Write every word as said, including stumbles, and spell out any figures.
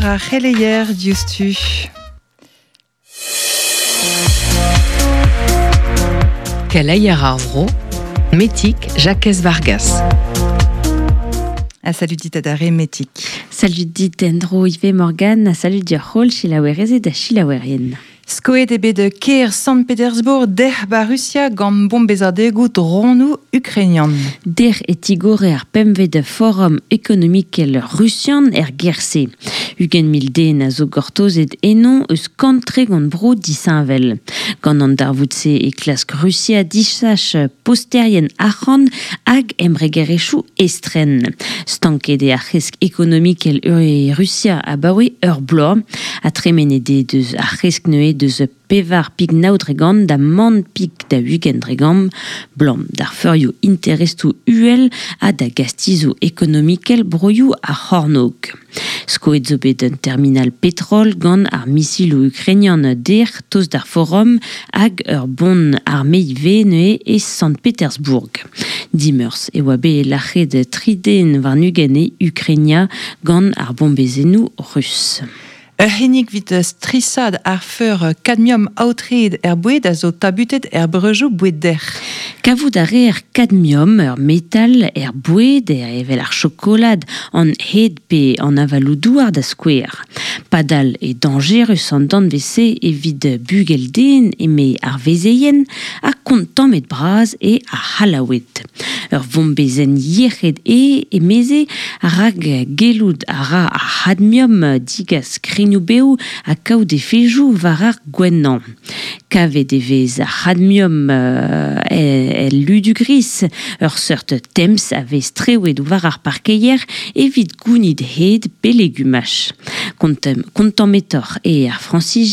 ar c'heleier diouzhtu. Keleier ar vro, Metik Jacques Vargas. A salut dit adare Metik. Salut dit endro Yves Morgan, salut dir c'hol chilaouerezed da chilaouerien. Skoet eo bet kêr Sant-Petersbourg dec'h ba Rusia gant bombezadegoù dronoù ukrainian. Der e tigore ar pemvet forum ekonomikel rusian er gerse. Ugent mil den a zo gortozet enon eus kantre gant bro disheñvel. Gant an darvoud-se e klask Rusia disach posterien arc'hant hag embregerezhioù estren. Stanket eo ar c'hresk ekonomikel e Rusia abaoe ur bloaz. Ha tremenet eo deus ar c'hresk neuze deus pevar pik nav dregant da man pik da ugent dregant, blam d'ar feurioù interestoù uhel ha da gastizoù ekonomikel broioù ar c'hornôg. Skoet zo bet un terminal petrol gant ar misiloù ukrainian der tost d'ar forum hag ur bon arme ivez neuze e Sant-Petersbourg. Dimeurzh e oa bet lac'het tri den warn-ugent e Ukrainia gant ar bombezennoù rus. Ur c'hinnig evit strisad ar feur kadmium aotreet er boued a zo tabutet er breujoù boued dec'h. Kavout a reer kadmium ur metal er boued er evel ar chokolad an hed pe an avaloù douar da skouer. Padal e dañjerus an danvez-se evit bugel den eme ar vezeien ha kontammet bras e ar C'hallaoued. Ur vombezenn yec'hed e emeze rak gellout a ra ar c'hadmium digas krignoù-bev ha kaout efedoù war ar gwennañ. Kavet e vez ar c'hadmium euh, el ludu gris, ur seurt temz a vez strewet war ar parkeier evit gounid hed pe legumaj. Kontammetoc'h e ar Frañsizien